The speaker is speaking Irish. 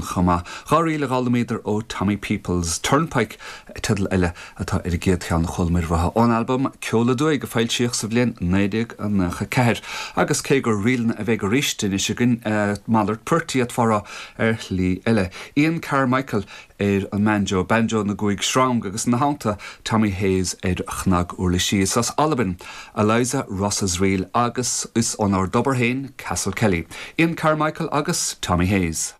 Chomh maith. 2 ríl a d'fhoghlaimíodar ó Tommy Peoples. Turnpike teideal eile atá ar an gcéad cheann a chualamar uathu ón albam Ceol Aduaidh a foilsíodh sa bhliain 1994. Agus cé gur ríleanna a bheidh arís anois againn, malairt poirt d'fhéadfá a rá ar shlí eile. Ian Carmichael ar an mbanjo, banjo na gcúig sreang, agus ina theannta Tommy Hayes ar chnag-uirlisí. Is as Albain Eliza Ross's Reel agus is ónár dtobar féin Castle Kelly. Ian Carmichael agus Tommy Hayes.